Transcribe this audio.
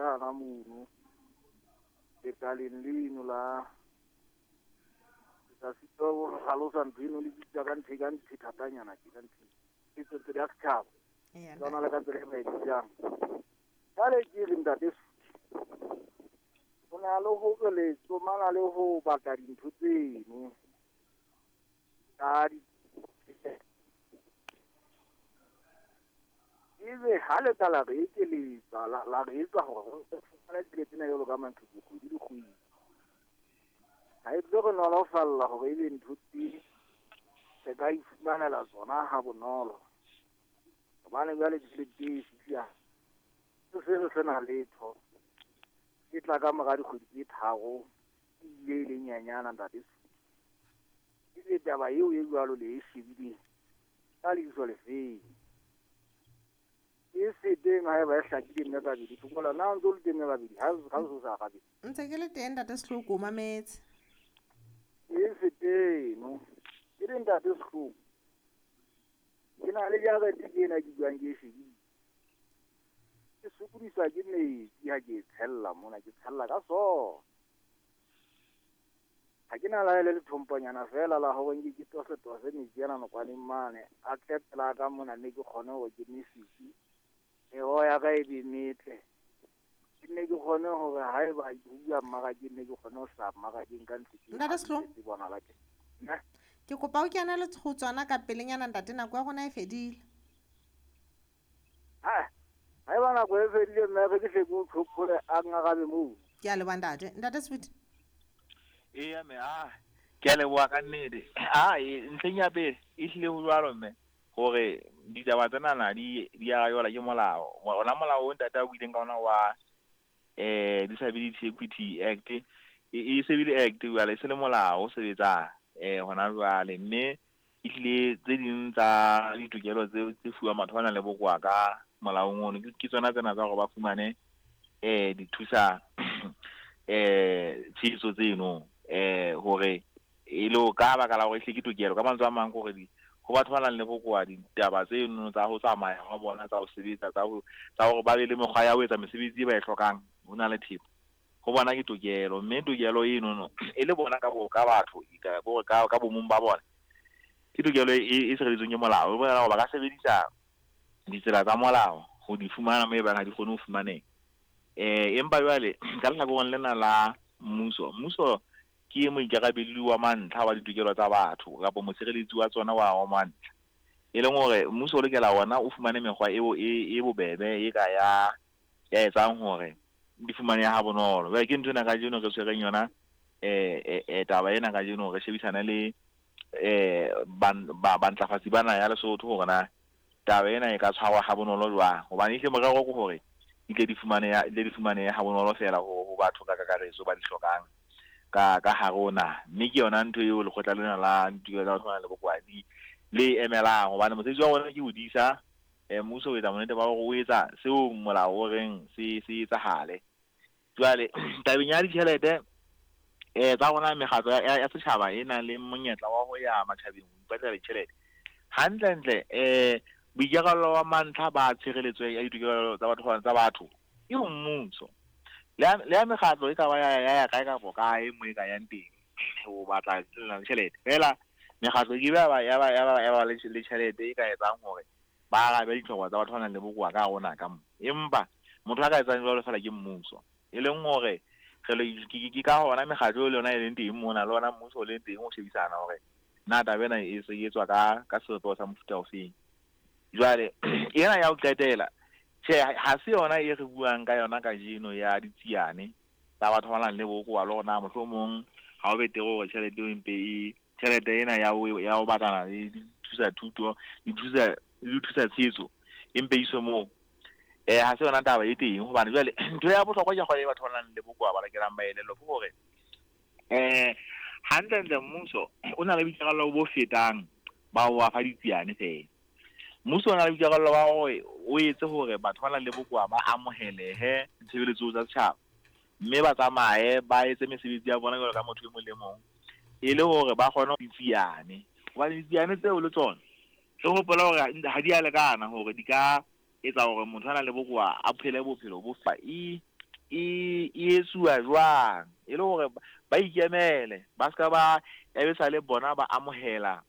pela hana mono lekaleng leno la ka sitwa ho hlalosa ntho eno le bitsa ka ntho e ka ntho e thatanyana ke ka ntho e tswetswe ya setjhaba. Tsona le ka tsela e ba e bitsang. Jwale ke re ntate ho na le hore le tsomana le ho batla dintho tseno ka di ebe ha le ka la re ekeletsa la re etsa hore re fumane tjhelete ena jwalo ka maqheku kgwedi le kgwedi. Ha e tlo re nolofalla hore ebe ntho tse re ka ifumanela tsona ha bonolo. Hobane jwale tjhelete e fihla se re sena letho. E tla ka mora dikgwedi tse tharo ebile e le nyanyana ntate. Ebe taba eo e jwalo le e shebileng ka leihlo le feng. E se teng haeba e hlakile mme kabedi Thokola na o ntso le teng mme kabedi ha o sa arabe. Ntse ke le teng ntate Sehloko o mametse. E se teng ke le ntate Sehloko. Ke na le jarete ke ena ke buang ke e shebile. Ke sokodiswa ke metsi ha ke e tshella mona ke tshella ka sona. Ha ke na la le lethomponyana fela la hore nke ke tose metsi ana nokwaneng mane a tle pela ka mona mme ke kgone hore ke nesetse. Meroho ya ka e be metle. Ke nne ke kgone hore haeba ke bua mmarakeng nne ke kgone ho hlaha mmarakeng ka ntho Ntate Sehloko. Bonahala ke. Ke kopa o kene le ho tsona ka pelenyana ntate nako ya rona e fedile. Ha haeba nako e fedile mme re ke hle ke o tlhophole a ngarabe moo. Ke a leboha ntate. Ntate Sweet. Eya mme ke a leboha ka nnete. Ntlheng ya pele e hlile ho jwalo mme hore ditaba tsenana di arabelwa ke molao. Ona molao o ntate a buileng ka ona wa Disability Equity Act e se bile act jwale e se le molao o sebetsang hona jwale mme ehlile tse ding tsa ditokelo tse fuwang batho ba nang le bokowa ka molaong ono ke tsona tsena tsa hore ba fumane dithusa tshehetso tseno hore e le ka baka la hore ehlile ke tokelo ka mantswe a mang ke hore ho batho ba nang le bokowa ditaba tseno tsa ho tsamaya ha bona tsa ho sebetsa tsa hore ba be le mekgwa ya ho etsa mesebetsi e ba e hlokang ho na le thepa ho bona ke tokelo mme tokelo eno e le bona ka batho ka bomong ba bona ke tokelo e sireletsweng ke molao e bolela hore ba ka sebedisa ditsela tsa molao ho di fumana moo e bang ha di kgone ho fumaneha. Empa jwale ka lehlakoreng lena la mmuso ke moikarabelli wa mantlha wa ditokelo tsa batho kapa mosireletsi wa tsona wa mantlha e leng hore mmuso o lokela ona o fumane mekgwa eo e bobebe e ka ya etsang hore di fumanehe ha bonolo. Jwale ke ntho ena kajeno re tshwereng yona taba ena kajeno re shebisane le bantlafatsi bana ya Lesotho hore na taba ena e ka tshwarwa ha bonolo jwang hobane ehle morero ke hore di tle di fumanehe ha bonolo fela ho batho ka kakaretso ba di hlokang ka hare ho naha. Mme ke yona ntho eo lekgotla lena la ditokelo tsa batho ba nang le bokowa le emelang hobane mosebetsi wa rona ke ho disa mmuso o etsa bonnete ba hore o etsa seo molao o reng se etsahale. Jwale tabeng ya ditjhelete tsa rona mekgatlo ya setjhaba e nang le monyetla wa ho ya matjhabeng ho ipatlela ditjhelete hantlentle boikarabelo wa mantlha ba tshireletso ya ditokelo tsa batho tsa batho ke mmuso. Le ya mekgatlo e ka ba ya kae kapa kae mo e ka yang teng ho batla tjhelete fela mekgatlo ke ba ya ba le tjhelete e ka etsang hore ba arabe ditlhoko tsa batho ba nang le bokowa ka rona ka mo. Empa motho a ka etsang jwalo fela ke mmuso e leng hore ke ka hona mekgatlo le yona e leng teng mona le ona mmuso o leng teng ho shebisana hore na taba ena e se etswa ka sebopeho sa mofuta ofeng. Jwale ena ya ho qetela tjhe ha se yona e re buang ka yona kajeno ya ditsiane tsa batho ba nang le bokowa le hore na mohlomong ha o betere hore tjhelete eo empe e tjhelete ena ya ho batlana le dithusa thuto dithusa tshehetso empe iswe moo ha se yona taba e teng hobane jwale ntho ya bohlokwa ke kgona batho ba nang le bokowa ba lokelang ba elellwe ke hore hantlentle mmuso o na le boikarabelo bo fetang ba ho ba fa ditsiane fela. Mmuso o na le boikarabelo ba hore o etse hore batho ba nang le bokowa ba amohelehe ditshebeletso tsa setjhaba mme ba tsamaye ba etse mesebetsi ya bona jwalo ka motho e mong le mong e le hore ba kgone ditsiane hobane ditsiane tseo le tsona re hopola hore ha di a lekana hore di ka etsa hore motho a nang le bokowa a phele bophelo bo fa e e etsuwa jwang, e le hore ba ikemele, ba ska ba ya be sa le bona ba amohela.